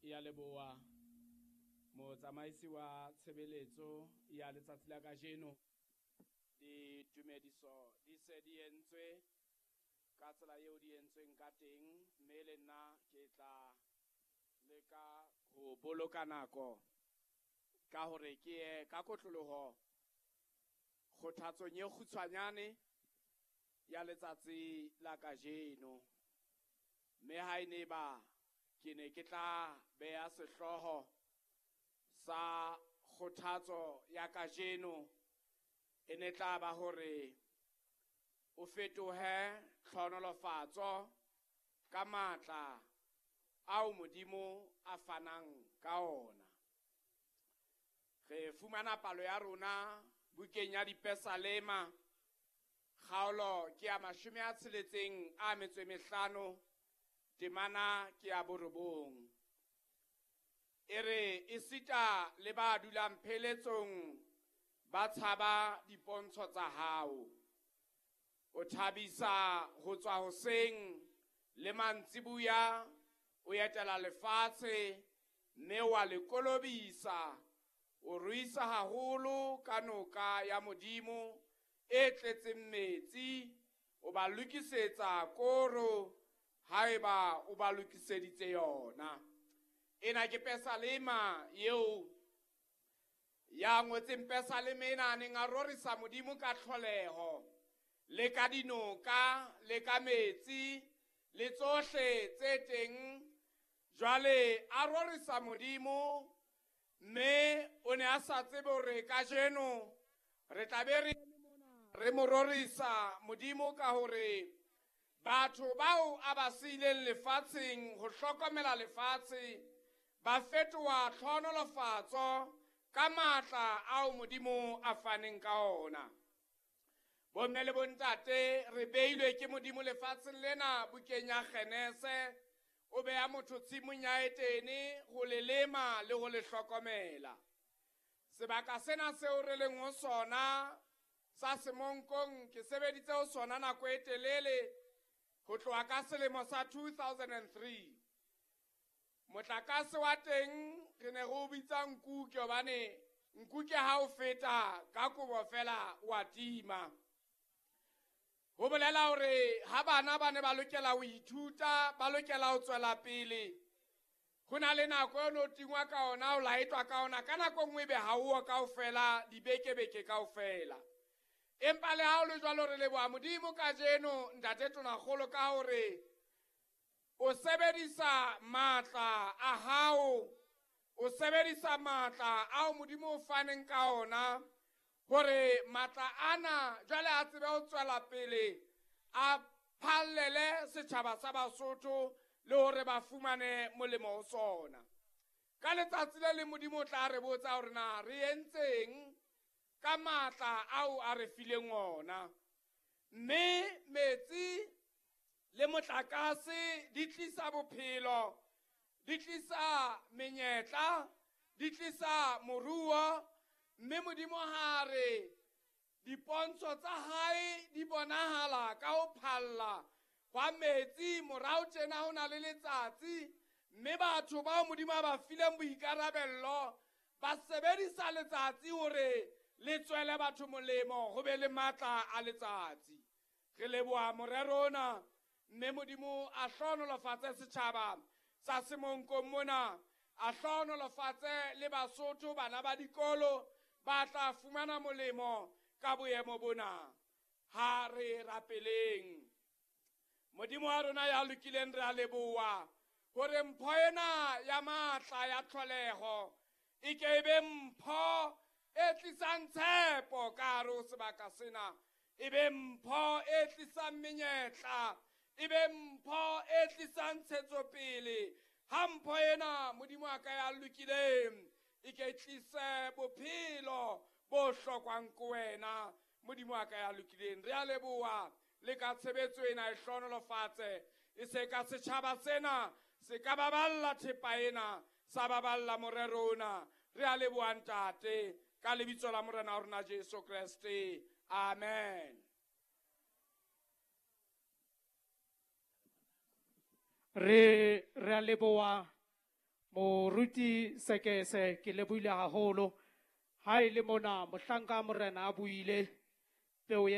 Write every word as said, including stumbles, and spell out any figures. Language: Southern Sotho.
Ya leboha motsamaisi wa tshebeletso ya letsatsi la kajeno. Ditumediso di se di entswe ka tsela eo di entsweng ka teng, mme le nna ke tla leka ho boloka nako ka hore ke ye ka kotloloho kgothatsong e kgutshwanyane ya letsatsi la kajeno. Mme ha e ne ba ke ne ke tla beha sehlooho sa kgothatso ya kajeno, e ne tla ba hore o fetohe tlhonolofatso ka matla ao Modimo a fanang ka ona. Re fumana palo ya rona bukeng ya Dipesalema, kgaolo ke ya mashome a tsheletseng a metso e mehlano, temana ke ya borobong. E re esita le ba dulang pheletsong ba tshaba dipontsho tsa hao. O thabisa ho tswa hoseng le mantsibuya, o etela lefatshe mme wa le kolobisa. O ruisa haholo ka noka ya Modimo e tletseng metsi, o ba lokisetsa koro haeba o ba lokiseditse yona. Ena ke pesalema eo ya ngotseng pesalema ena a neng a rorisa Modimo ka tlholeho le ka dinoka le ka metsi le tsohle tse teng. Jwale a rorisa Modimo, mme o ne a sa tsebe hore kajeno re tla be re re mo rorisa Modimo ka hore batho bao a ba siileng lefatsheng ho hlokomela lefatshe ba fetoha tlhonolofatso ka matla ao Modimo a faneng ka ona. Bomme le bontate, re beilwe ke Modimo lefatsheng lena bukeng ya Genese, o beha motho tshimong ya Etene ho le lema le ho le hlokomela. Sebaka sena seo re leng ho sona sa Semonkong, ke sebeditse ho sona nako e telele ho tloha ka selemo sa two thousand and three. Motlakase wa teng re ne re o bitsa nkuke, hobane nkuke ha o feta ka kobo fela wa tima. Ho bolela hore ha bana ba ne ba lokela ho ithuta, ba lokela ho tswela pele, ho na le nako eo no tingwa ka ona, o laetwa ka ona, ka nako nngwe ebe ha o kaofela, dibekebeke kaofela. Empa le ha ho le jwalo, re leboha Modimo kajeno, Ntate Tonakgolo, ka hore o sebedisa matla a hao, o sebedisa matla ao Modimo o faneng ka ona, hore matla ana jwale a tsebe ho tswela pele, a phallele setjhaba sa Basotho le hore ba fumane molemo ho sona. Ka letsatsi le leng Modimo o tla re botsa hore na re entseng ka matla ao a re fileng ona. Mme metsi le motlakase di tlisa bophelo, di tlisa menyetla, di tlisa moruo. Mme Modimo ha re dipontsho tsa hae di bonahala ka ho phalla hwa metsi morao tjena ho na le letsatsi, mme batho bao Modimo a ba fileng boikarabello ba sebedisa letsatsi hore le tswele batho molemo, ho be le matla a letsatsi. Re leboha morero ona, mme Modimo a hlohonolofatse setjhaba sa Semonkong mona, a hlohonolofatse le Basotho bana ba dikolo ba tla fumana molemo ka boemo bona. Ha re rapeleng. Modimo wa rona ya lokileng, re a leboha hore mpho ena ya matla ya tlholeho e ke e be mpho e tlisang tshepo ka hare ho sebaka sena, e be mpho e tlisang menyetla, e be mpho e tlisang ntshetsopele. Ha mpho ena Modimo wa ka ya lokileng e ke tlise bophelo bo hlokwang ke wena, Modimo wa ka ya lokileng. Re a leboha le ka tshebetso ena, e hlohonolofatse, e se ka setjhaba sena se ka baballa thepa ena, sa baballa morero ona. Re a leboha Ntate, ka lebitso la Morena wa rona Jesu Kreste, amen. Re re a leboha Moruti Sekese, ke lebohile haholo. Ha e le mona mohlanka morena a buile peo.